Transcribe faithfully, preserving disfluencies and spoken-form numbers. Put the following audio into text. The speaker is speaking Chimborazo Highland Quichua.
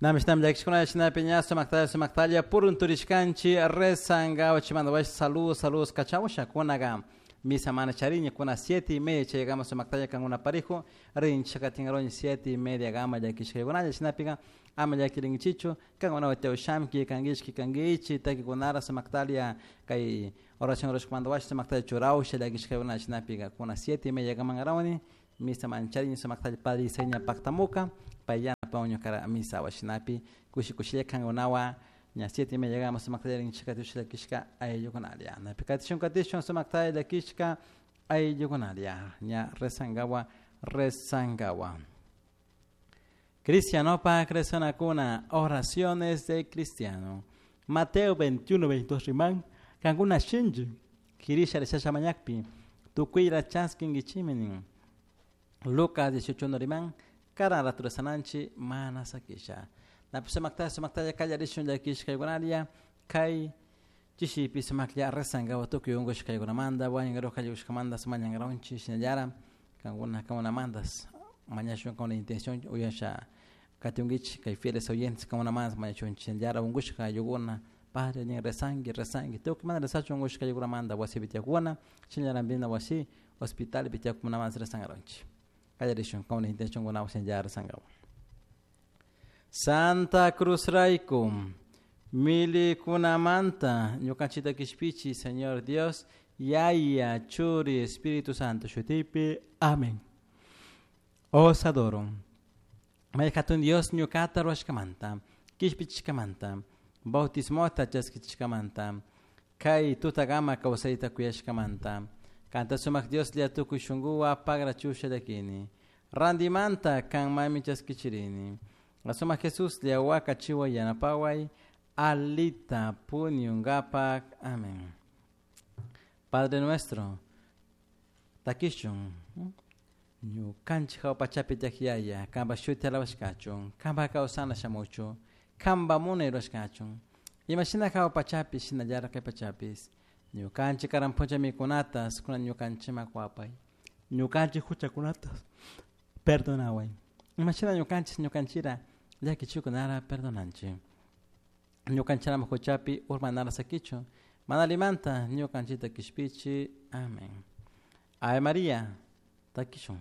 Namishnam llakishkuna shinapi ña sumaktalla sumaktalla purunturishkanchik rezangawa chimanda wash saludos saludos kachawashakunaga misa mana chariña kuna siete y media chaygama sumaktalla kankuna parijo rinchik katinkaronchik siete y media gama llakishkaykunalla shinapika ama llakirinkichichu kankuna watewshamki kankichik kankichik takikunara sumaktalla kay oración rurashkamanta wash sumaktalla churawsha llakishkaykuna shinapika kuna siete y media gamankarawni misa manchariña sumaktalla padre Iseña paktamuka pay yanapawan ñukara misa washinapi kushi kushilla kankunawan ña siete y media gama sumaktalla rinchik katisha llakishka ayllukunalla napi katishun katishun sumaktalla llakishka ayllukunalla ña rezangawa rezangawa Cristianopa crecionakuna oraciones de cristiano Mateo veintiuno veintidós riman kankuna shinchi kirisha rishasha mañakpi tukuyra chaskinkichimi nin Lucas dieciocho uno riman karan rato rezananchik mana sakisha napi sumaktalla sumaktalla kallarishun llakishkaykunalla kay chishipi sumaklla rezangawa tukuy unkushkaykunamanta wañunkaruj kallikushkamanta mañankaronchik shinallara kankuna kankunamantas mañashun con la intención uyasha katiunkichik kay fieles oyentes kankunamanta mañashunchik shinallara unkushka ayllukuna padre nin rezanki rezanki tukuy mana rezachun unkushka ayllukunamanta wasipi tiyakuna shinallara wasi hospitalpi tiyakunamanta rezankaronchik kallarishun con la intención kunawan shinallara rezankawa Santa Cruz rayku milikunamanta ñukanchikta kishpichi Señor Dios Yaya Churi Espíritu Santo shutipi amén. Os adoro. May hatun Dios ñukata ruwashkamanta kishpichishkamanta bautismota chaskichishkamanta kay tutakama kawsayta kuyashkamanta kanta sumak Dioslla tukuy shunkuwan pagrachusha llakini rantimanta kanmanmi chaskichirini Sumak Jesuslla wakachiway yanapaway alita puñunkapak amén. Padre nuestro takishun ñukanchik hawa pachapi tiyak yaya kanpak shuti alabashkachun kanpak kawsana shamuchun kanpak munay rurashkachun imashina hawa pachapi shinallara kay pachapis ñukanchik karan puncha mikunatas kunan ñukanchikman kuwapay ñukanchik huchakunatas perdonaway imashina ñukanchik ñukanchira llakichikunara perdonanchik ñukanchirama huchapi urmanara sakichun mana allimanta ñukanchikta kishpichi amén. Ave María takishun.